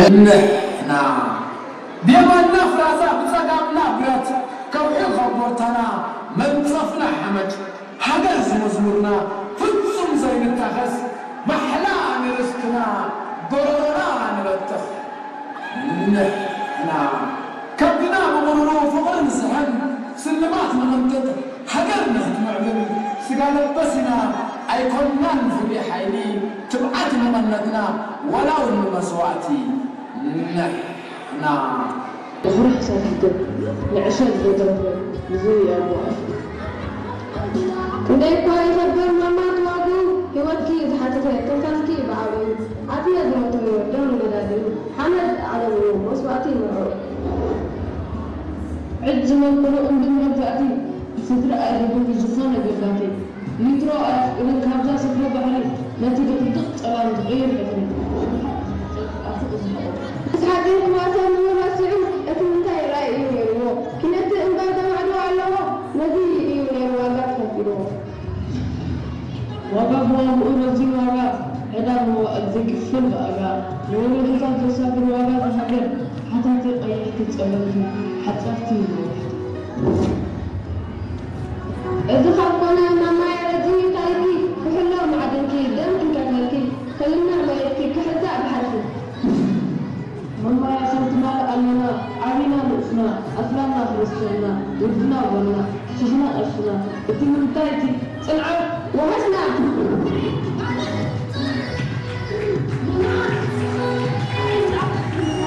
እንሕና ብየማንና ፍራዛ ብጸጋምና ብረት ከውሒ ኮቦርታና መንጸፍና ሓመድ ሃገር ዝመዝሙርና ፍጹም ዘይንታኸስ ማሕላ ንርስትና ጎረሮና ንበትኽ። ንሕና ከብድና ብቑሩሩ ፍቕርን ዝሕን ስልማት ንቕንጥጥ ሃገር ንኽትምዕብል ስጋ ለበስ ኢና ኣይኮንናን ፍሉይ ሓይሊ ትብዓት መቐነትና ዋላ እውን ንመስዋእቲ ንሕና ድሕሪ ሕሳብ ሕቶ ንዕሸል ዘይተረፈ ንዝብኢ ኣቦ ኣፍ። ክንደይ እኳ ይኸብር ማማ ተዋግኡ ህይወትኪ ዝሓተተ ትንፋስኪ ብዓብኡ ኣትየ ዝሞተዮ ደም ገዳግኡ ሓመድ ዓለምኡ መስዋእቲ መርዕኡ። ዕድ ዝመልክሉ እምቢ መግዛእቲ ስድሪ ኣይደግም ዝኾነ ገባቲ ሊትሮ ኣየፍቅድን ካብዛ ስፍረ ባሕሪ ነቲ ድቕድቕ ጸላም ዝቕይር ሕፍሪ። ኣፉ ዝሓቖ። ምስ ሓጺን ክዋሰን ምኑ ረሲዑ እቲ ምንታይ ራኢ እዩ ነይርዎ። ኪነቲ እምበር ዘማዕዶ ኣለዎ ነዚ እዩ ነይሩ ዋጋ ተኸፊልዎ። ዋጋ ብዋግኡ ረዚን ዋጋ ዕዳ መዋእል ዘይክፈል ብኣጋ ንወለዶታት ዘሳግር ዋጋ ዝሃገር ሓተቲ ቀያሕቲ ጸለምቲ ሓጸርቲ ነዋሕቲ። እዚ ካብ ኮነ ማማየ ረዚን ታሪኪ ክሕሎ ማዕድንኪ ደም ክንከፍለልኪ ከልና መሬትኪ ክሕዛእ ባሕርኪ። ማማየ ከም ትማል ኣለና ዓቢና ንኡስና ኣስላምና ክርስትያንና ውድና ጓልና ሽሕና ቀሽና እቲ ምንታይ እቲ ጽንዓት ወሓስና።